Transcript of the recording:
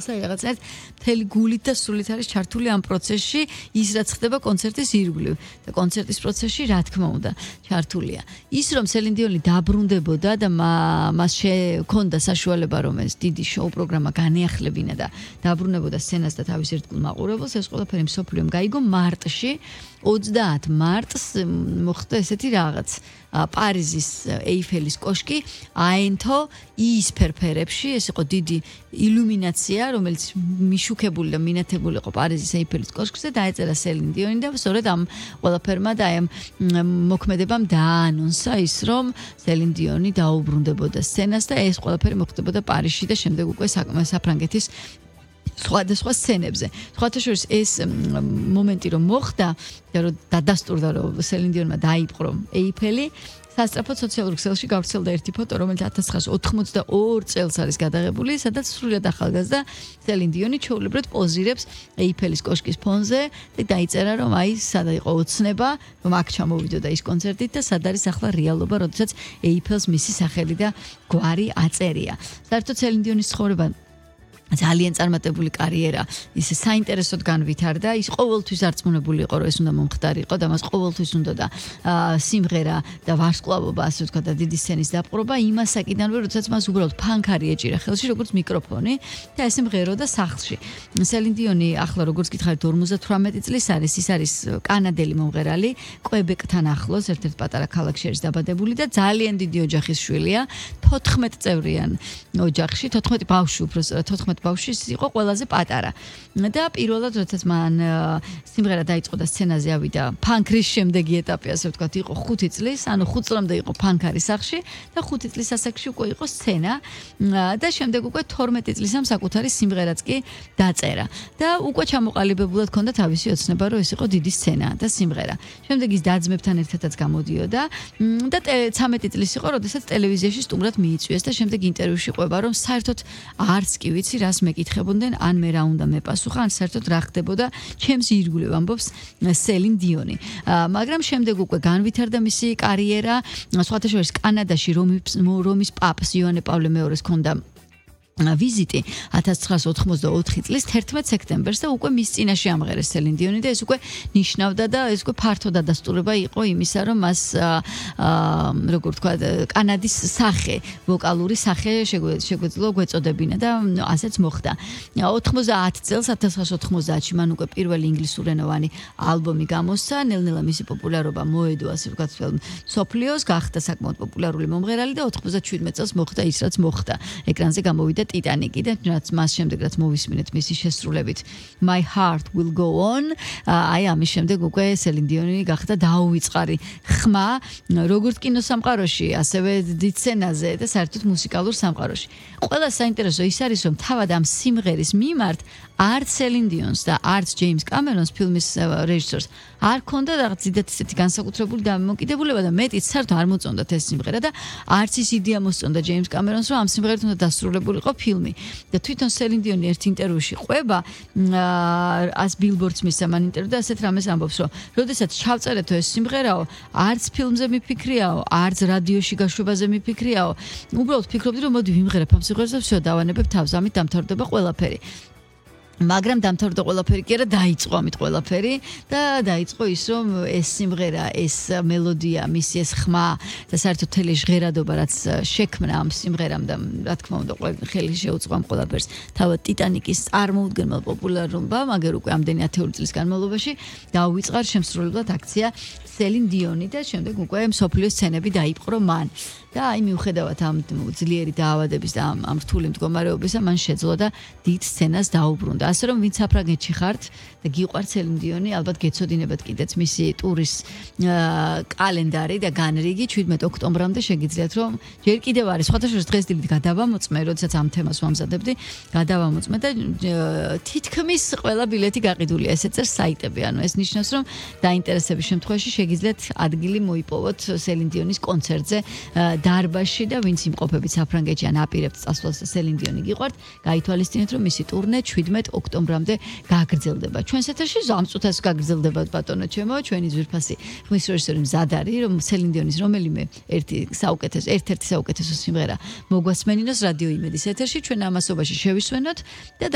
რაღაცნაირად მთელი გულით და სულით არის ჩართული ამ პროცესში ის რაც ხდება კონცერტის ირგვლივ და კონცერტის პროცესში რა თქმა უნდა ჩართულია ის რომ სელინ დიონი დაბრუნდებოდა და მას შექონდა საშუალება რომ ეს დიდი შოუ პროგრამა განეახლებინა და დაბრუნებოდა სცენას და თავის ერთგულ მაყურებელს ეს ყველაფერი მსოფლიომ გაიგო მარტში 30 მარტს მოხდა ესეთი რაღაც პარიზის ეიფელის კოშკი აენთო ის ფერფერებში ეს იყო დიდი ილუმინაცია რომელიც მიშუქებული და მინათებული იყო პარიზის ეიფელის კოშკზე დაეწერა სელინ დიონი და სწორედ ამ ყველაფერმა და ამ მოქმედებამ დაანონსა ის რომ სელინ დიონი დაუბრუნდებოდა სცენას და ეს ყველაფერი მოხდებოდა პარიზში და შემდეგ უკვე საფრანგეთის სხვადასხვა სცენებზე. სხვათა შორის ეს მომენტი რომ მოხდა და რომ დადასტურდა რომ სელინ დიონმა დაიპყრო ეიფელი სასწრაფოდ სოციალურ ქსელში გავრცელდა ერთი ფოტო, რომელიც 1982 წელს არის გადაღებული, სადაც სრულიად ახალგაზრდა სელინ დიონი ჩვეულებრივად პოზირებს ეიფელის კოშკის ფონზე და დაიწერა რომ აი სად იყო ოცნება, რომ აქ ჩამოვიდოდა ის კონცერტით და სად არის ახლა რეალობა, როდესაც ეიფელს მისი სახელი და გვარი აწერია. საერთოდ სელინ დიონის ცხოვრება ძალიან წარმატებული კარიერა ისე საინტერესოდ განვითარდა ის ყოველთვის არწმუნებული იყო რომ ეს უნდა მომხდარიყო და მას ყოველთვის უნდა და სიმღერა და ვარსკვლავობა ასე ვთქვა და დიდი სცენის დაპყრობა იმასაკიდანვე როდესაც მას უბრალოდ ფანქარი ეჭირა ხელში როგორც მიკროფონი და ესე მღეროდა სახლში სელინ დიონი ახლა როგორც გითხარით 58 წლის არის ის არის კანადელი მომღერალი კვებეკთან ახლოს ერთ-ერთ პატარა ქალაქში არის დაბადებული და ძალიან დიდი ოჯახის შვილია 14 წევრიან ოჯახში 14 ბავშვი უბრალოდ 14 ბავშვი იყო ყველაზე პატარა და პირველად როდესაც მან სიმღერა დაიწყო და სცენაზე ავიდა ფანკრის შემდეგი ეტაპი ასე ვთქვათ იყო 5 წლის ანუ 5 წლამდე იყო ფანკარი სახლში და 5 წლის ასაკში უკვე იყო სცენა და შემდეგ უკვე 12 წლისამ საკუთარი სიმღერაც კი დაწერა და უკვე ჩამოყალიბებულად ჰქონდა თავისი ოცნება რომ ეს იყო დიდი სცენა და სიმღერა შემდეგ ის დაძმებთან ერთადაც გამოდიოდა და 13 წლის იყო როდესაც ტელევიზიაში სტუმრად მიიწვიეს და შემდეგ ინტერვიუში ყვება რომ საერთოდ არც კი ვიცი რას მეკითხებოდნენ ან მე რა უნდა მეპასუხა ან საერთოდ რა ხდებოდა ჩემს ირგვლივ ამბობს სელინ დიონი მაგრამ შემდეგ უკვე განვითარდა მისი კარიერა სხვათა შორის კანადაში რომის პაპს იოანე პავლე მეორეს ჰქონდა ვიზიტი 1984 წლის 11 სექტემბერს და უკვე მის წინაშე ამღერეს სელინ დიონი და ეს უკვე ნიშნავდა და ეს უკვე ფართო დადასტურება იყო იმისა რომ მას როგორ თქვა კანადის სახე ვოკალური სახე შეგვეძლო გვეწოდებინა და ასეც მოხდა 90 წელს 1990-ში მან უკვე პირველი ინგლისურენოვანი ალბომი გამოსცა ნელ-ნელა მისი პოპულარობა მოედო ასე ვთქვათ სოფლიოს გახდა საკმაოდ პოპულარული მომღერალი და 97 წელს მოხდა ის რაც მოხდა ეკრანზე გამოვიდა ტიტანიკი და რაც მას შემდეგ რაც მოვისმინეთ მისი შესრულებით My Heart Will Go On აი ამის შემდეგ უკვე სელინ დიონი გახდა დაუვიწყარი ხმა როგორც კინოსამყაროში ასევე დიდ სცენაზე და საერთოდ მუსიკალურ სამყაროში ყველა საინტერესო ის არის რომ თავად ამ სიმღერის მიმართ არც სელინ დიონს და არც ჯეიმს კამერონს ფილმის რეჟისორს არ ქონდა რაღაც დიდად ისეთი განსაკუთრებული დამოკიდებულება და მეტიც საერთოდ არ მოწონდათ ეს სიმღერა და არც ის იდეა მოსწონდა ჯეიმს კამერონს რომ ამ სიმღერით უნდა დასრულებულიყო ფილმი და თვითონ სელინ დიონი ერთ ინტერვიუში ყვება ას ბილბორდს მისცა მან ინტერვიუ და ასეთ რამეს ამბობს რომ როდესაც ჩავწერეთო ეს სიმღერაო არც ფილმზე მიფიქრიაო არც რადიოში გაშვებაზე მიფიქრიაო უბრალოდ ფიქრობდი რომ მოდი ვიმღერებ ამ სიმღერას და всё დავანებებ თავს ამით დამთავრდება ყველაფერი მაგრამ დამთავრდა ყველაფერი კი არა დაიწყო ამით ყველაფერი და დაიწყო ის რომ ეს სიმღერა ეს მელოდია მისი ეს ხმა და საერთოდ თელი ჟღერადობა რაც შექმნა ამ სიმღერამ და რა თქმა უნდა ხელი შეუწყო ამ ყველაფერს თავად ტიტანიკის წარმოუდგენელ პოპულარობამ მაგერ უკვე ამდენი ათეული წლის განმავლობაში დაუვიწყარ შემსრულებლად აქცია სელინ დიონი და შემდეგ უკვე მსოფლიოს სცენები დაიპყრო მან და აი მიუხედავად ამ ძლიერი დაავადების და ამ რთული მდგომარეობისა მან შეძლო და დიდ სცენას დაუბრუნდა ასე რომ ვინც საფრანგეთში ხართ და გიყვართ სელინ დიონი ალბათ გეცოდინებათ კიდეც მისი ტურის კალენდარი და განრიგი 17 ოქტომბრამდე შეგიძლიათ რომ ჯერ კიდევ არის სხვათა შორის დღეს დილით გადავამოწმე როდესაც ამ თემას ვამზადებდი გადავამოწმე და თითქმის ყველა ბილეთი გაყიდულია ესე წერს საიტები ანუ ეს ნიშნავს რომ დაინტერესების შემთხვევაში შეგიძლიათ ადგილი მოიპოვოთ სელინ დიონის კონცერტზე დარბაზში და ვინც იმყოფებით საფრანგეთში ან აპირებთ წასვლას სელინ დიონი გიყვართ გაითვალისწინეთ რომ მისი ტურნე 17 ოქტომბრამდე გაგრძელდება. ჩვენს ეთერში ამ წუთას გაგრძელდება ბატონო ჩემო, ჩვენი ძვირფასი ხმის რეჟისორი მზად არის, რომ სელინ დიონის რომელიმე ერთ-ერთი საუკეთესო სიმღერა მოგვასმენინოს რადიო იმედის ეთერში, ჩვენ ამასობაში შევისვენოთ და